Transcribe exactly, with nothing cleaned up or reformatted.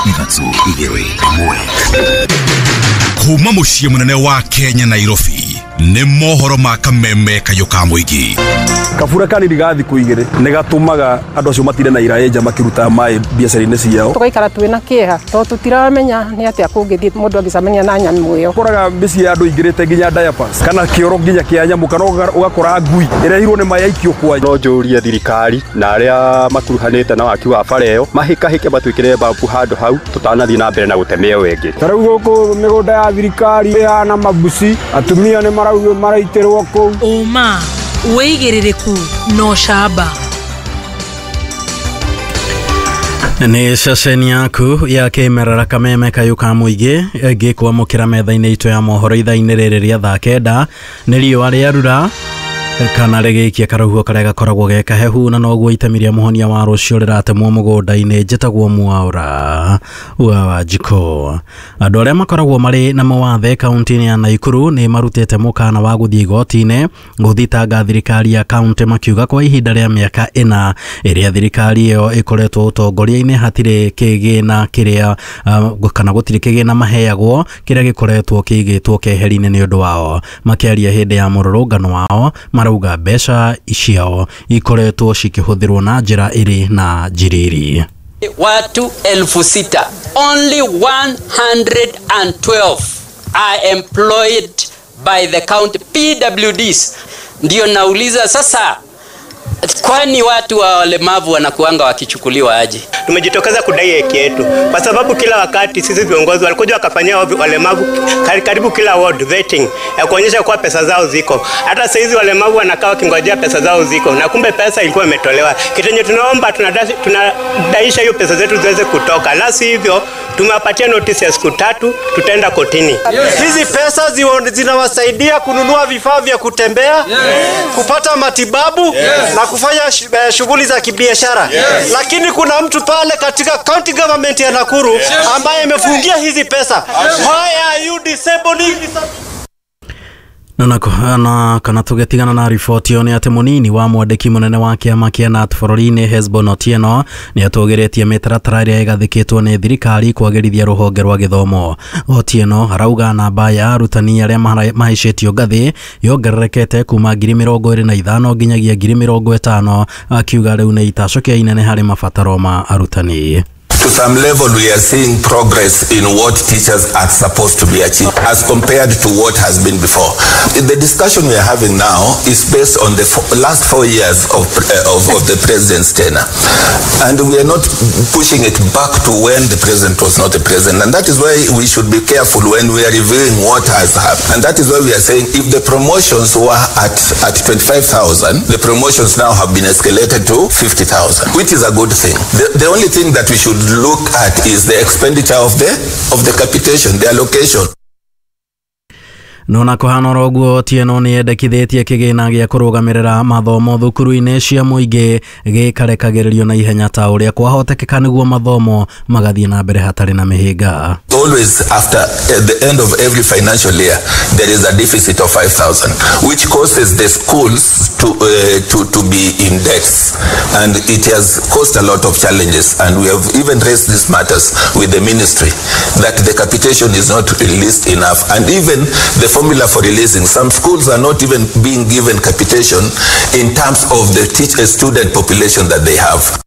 Ithatũ igĩrĩ ĩmwe. Kuma mũciĩ mũnene wa Kenya Nairobi nĩ mohoro ma kameme kayũ ka mũingĩ. Kabura kanini ga thikũ igĩrĩ nĩ gatũmaga andũ acio matinde na iraĩ nja makĩruta maĩ biacara-inĩ ciao. Tũgaikara twĩna kĩeha tondũ tũtiramenya nĩ atĩa kũngĩthiĩ mũndũ angĩcemania na nyamũ ĩyo. Ũkoraga mĩciĩ ya andũ ingĩrĩte nginya diapers kana kĩoro nginya kĩa nyamũ kana ũgakora ngui ĩrehirwo nĩ maĩ aikio kwa. No njũrie thirikari na arĩa makuruhanĩte na waki wa bara ĩyo mahĩkahĩke matwĩkĩre babu handũ hau tũtanathiĩ na mbere na gũteme ĩyo ĩngĩ. Ta rĩu gũkũ mĩgũnda ya thirikari ĩhana mabuci, atumia nĩ maraugio maraitĩrwo kũu. Ũma wĩigĩrĩrĩku no camba. Nĩ ceceni yaku ya kĩmerera kameme kayũ ka mũingĩ ngĩkwamũkĩra metha-inĩ itũ ya mohoro ithaa-inĩ rĩrĩ rĩa thaa kenda. Nĩ riũa rĩarura kana rĩgĩikia karũhuho karĩa gakoragwo ge kahehu na noguo itemi rĩa mũhonia wa rũciũ rĩratemwo mũgũnda-inĩ. Njĩtagwo Mwaũra wa Wanjikũ. Andũ arĩa makoragwo marĩ na mawathe kaunti-inĩ ya Naikuru nĩ marutĩte mũkana wa gũthiĩ igoti-inĩ gũthitanga thirikari ya kaunti makiuga kwa ihinda rĩa mĩaka ĩna ĩrĩa thirikari ĩyo ĩkoretwo ũtongoria-inĩ hatirĩ kĩgĩna kĩrĩa uh, kana gũtirĩ kĩgĩna maheagwo kĩrĩa gĩkoretwo kĩigĩtwo keheri-inĩ nĩ ũndũ wao. Makĩaria hĩndĩ ya mũrũrũngano wao marauga mbeca ciao ikoretwo cikĩhũthĩrwo na njĩra ĩrĩ na njiriri. Watu elfu sita, only one hundred and twelve are employed by the county P W Ds. Ndio nauliza sasa, kwani watu wa walemavu wanakuanga wakichukuliwa aje? Tumejitokeza kudai haki yetu kwa sababu kila wakati sisi viongozi walikuja wakafanyia walemavu karibu kila ward vetting ya kuonyesha kwa pesa zao ziko. Hata sasa hizi walemavu wanakaa wakingojea pesa zao ziko na kumbe pesa ilikuwa imetolewa. Kitenye tunaomba tunadaisha hiyo pesa zetu ziweze kutoka. La sivyo tumewapatia notice ya siku tatu, tutaenda kotini. Hizi pesa zinawasaidia kununua vifaa vya kutembea, yes, kupata matibabu, yes, na kufanya shughuli za kibiashara. Yes. Lakini kuna mtu pale katika county government ya Nakuru, yes, ambaye amefungia hizi pesa. Yes. Why are you disabling? Na na kana tũgĩtigana na riboti ĩyo nĩ atĩ mũnini wa mwandĩki mũnene wa kĩama kĩa K N A T bũrũri-inĩ Hesbon Otieno nĩ atũgĩrĩtie mĩtaratara ĩrĩa ĩgathĩkĩtwo nĩ thirikari kwagĩrithia rũhonge rwa gĩthomo. Otieno arauga namba ya arutani arĩa mahaicĩtio ngathĩ yongererekete kuma ngiri mĩrongo ĩrĩ na ithano nginyagia ngiri mĩrongo ĩtano, akiuga rĩu nĩ itacũkia inene harĩ mabataro ma arutani. To some level, we are seeing progress in what teachers are supposed to be achieving as compared to what has been before. The discussion we are having now is based on the four, last four years of, uh, of, of the president's tenure. And we are not pushing it back to when the president was not the president. And that is why we should be careful when we are reviewing what has happened. And that is why we are saying if the promotions were at, at twenty-five thousand, the promotions now have been escalated to fifty thousand, which is a good thing. The, the only thing that we should look at is the expenditure of the of the capitation, the allocation. Nona kuhana oroguo Otieno nĩ endekithĩtie kĩgĩna gĩa kũrũgamĩrĩra mathomo thukuru-inĩ cia mũingĩ gĩkarekagĩrĩrio na ihenya ta ũrĩa kwahotekeka nĩguo mathomo magathiĩ na mbere hatarĩ na mĩhĩnga. Always after at the end of every financial year there is a deficit of five thousand, which causes the schools to, uh, to, to be in debts, and it has caused a lot of challenges, and we have even raised these matters with the ministry that the capitation is not released enough, and even the formula for releasing, some schools are not even being given capitation in terms of the teacher student population that they have.